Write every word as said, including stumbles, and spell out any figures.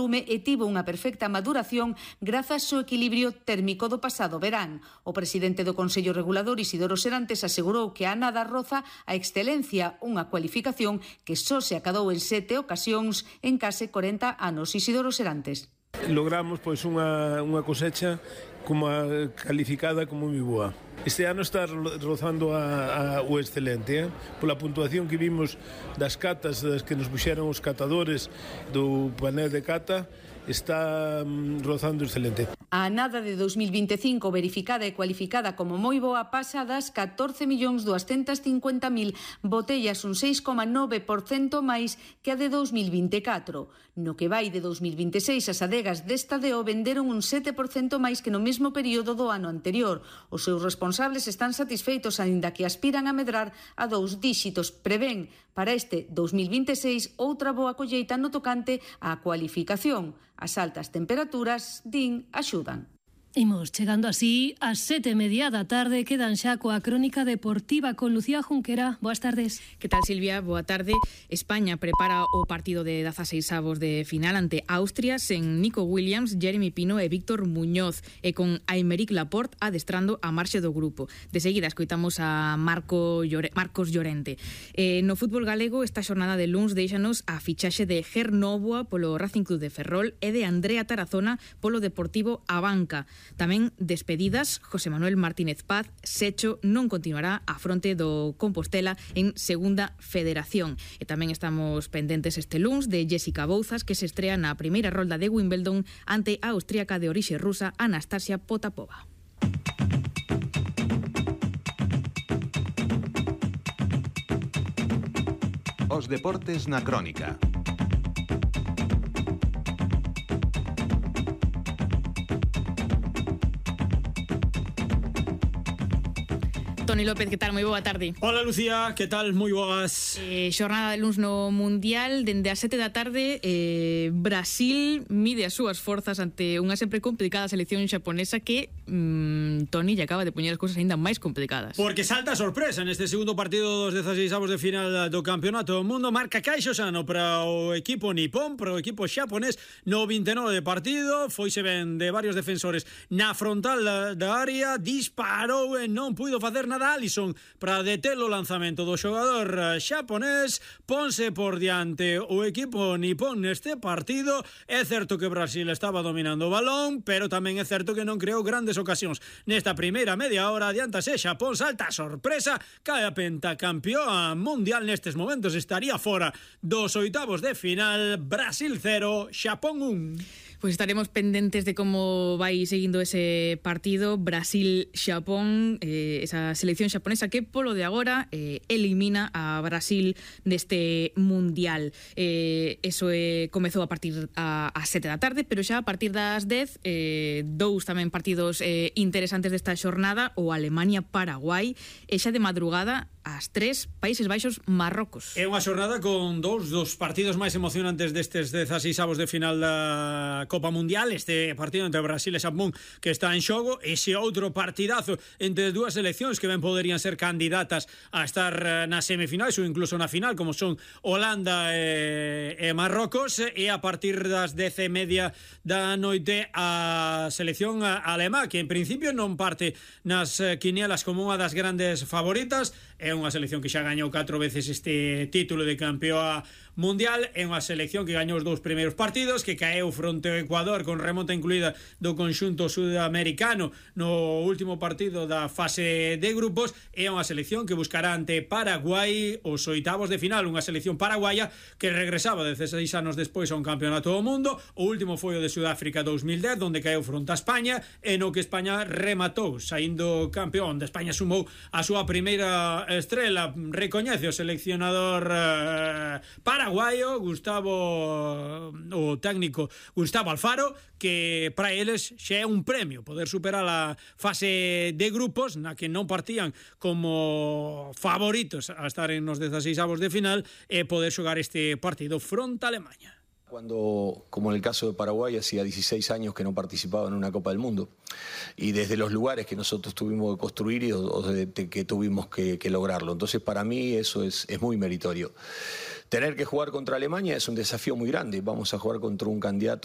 volume e tivo unha perfecta maduración grazas ao equilibrio térmico do pasado verán. O presidente do Consello Regulador, Isidoro Serantes, asegurou que a nada roza a excelencia, unha cualificación que só se acadou en sete ocasións en case corenta anos. Isidoro Serantes. Logramos pois unha, unha cosecha como a, calificada como moi boa. Este ano está rozando a, a, o excelente, eh? Pola puntuación que vimos das catas das que nos puxeron os catadores do panel de cata, está um, rozando excelente. A nada de dos mil vinte e cinco verificada e cualificada como moi boa pasa das catorce millóns duascentas cincuenta mil botellas, un seis coma nove por cento máis que a de dos mil vinte e catro. No que vai de dos mil vinte e seis, as adegas desta deo venderon un sete por cento máis que no mesmo período do ano anterior. Os seus responsables están satisfeitos, aínda que aspiran a medrar a dous díxitos. Prevén para este dos mil vinte e seis outra boa colleita no tocante á cualificación. As altas temperaturas, din, axudan. Imos chegando así ás sete e media da tarde. Quedan xa coa crónica deportiva con Lucía Junquera. Boas tardes. Que tal, Silvia? Boa tarde. España prepara o partido de dezaseis avos de final ante Austria sen Nico Williams, Jeremy Pino e Víctor Muñoz, e con Aymeric Laporte adestrando a marxe do grupo. De seguida escoitamos a Marco Llore, Marcos Llorente. Eh, no fútbol galego, esta xornada de luns deixanos a fichaxe de Ger Novoa polo Racing Club de Ferrol e de Andrea Tarazona polo Deportivo Abanca. Tamén despedidas, José Manuel Martínez Paz, Secho, non continuará a fronte do Compostela en Segunda Federación. E tamén estamos pendentes este luns de Jessica Bouzas, que se estrea na primeira rolda de Wimbledon ante a austríaca de orixe rusa Anastasia Potapova. Os deportes na crónica. Toni López, que tal? Moi boa tarde. Hola, Lucía, que tal? Moi boas. Eh, xornada de luns no Mundial, dende as sete da tarde, eh, Brasil mide as súas forzas ante unha sempre complicada selección xaponesa que, mmm, Toni, lle acaba de poñer as cousas aínda máis complicadas. Porque salta a sorpresa neste segundo partido dos dezaseis avos de final do Campeonato do Mundo. Marca Kaixo Sano para o equipo nipón, para o equipo xaponés no vinte e nove de partido. Foise ben de varios defensores na frontal da, da área, disparou e non puido facer nada Alisson para deter o lanzamento do xogador xaponés. Ponse por diante o equipo nipón neste partido. É certo que Brasil estaba dominando o balón, pero tamén é certo que non creou grandes ocasións. Nesta primeira media hora adiantase Xapón, salta a sorpresa, cae a pentacampeón mundial nestes momentos, estaría fora dos oitavos de final. Brasil cero, Xapón un. Pois estaremos pendentes de como vai seguindo ese partido Brasil-Xapón, eh, esa selección xaponesa que polo de agora eh, elimina a Brasil deste Mundial. Eh, eso eh, comezou a partir a, a sete da tarde, pero xa a partir das dez, eh, dous tamén partidos eh, interesantes desta xornada, o Alemania-Paraguai, e xa de madrugada ás tres, Países Baixos-Marrocos. É unha xornada con dous dos partidos máis emocionantes destes dezaseis avos de final da Copa Mundial. Este partido entre Brasil e Xapón que está en xogo, ese outro partidazo entre dúas seleccións que ben poderían ser candidatas a estar nas semifinais ou incluso na final, como son Holanda e, e Marrocos. E a partir das dez e media da noite a selección alemá, que en principio non parte nas quinielas como unha das grandes favoritas. É unha selección que xa gañou catro veces este título de campeón mundial. É unha selección que gañou os dous primeiros partidos, que caeu fronte ao Ecuador con remonta incluída do conxunto sudamericano no último partido da fase de grupos. É unha selección que buscará ante Paraguai os oitavos de final, unha selección paraguaya que regresaba dezasseis anos despois a un campeonato do mundo. O último foi o de Sudáfrica dos mil dez, onde caeu fronte a España, e no que España rematou saindo campeón. De España sumou a súa primeira estrela, recoñece o seleccionador eh, paraguayo Gustavo, o técnico Gustavo Alfaro, que para eles xa é un premio poder superar a fase de grupos na que non partían como favoritos a estar en os dezaseis avos de final e poder xogar este partido fronte a Alemania. Cuando, como en el caso de Paraguay, hacía dieciséis años que no participaba en una Copa del Mundo. Y desde los lugares que nosotros tuvimos que construir y o, o de, de, que tuvimos que, que lograrlo. Entonces, para mí eso es, es muy meritorio. Tener que jugar contra Alemania es un desafío muy grande. Vamos a jugar contra un candidato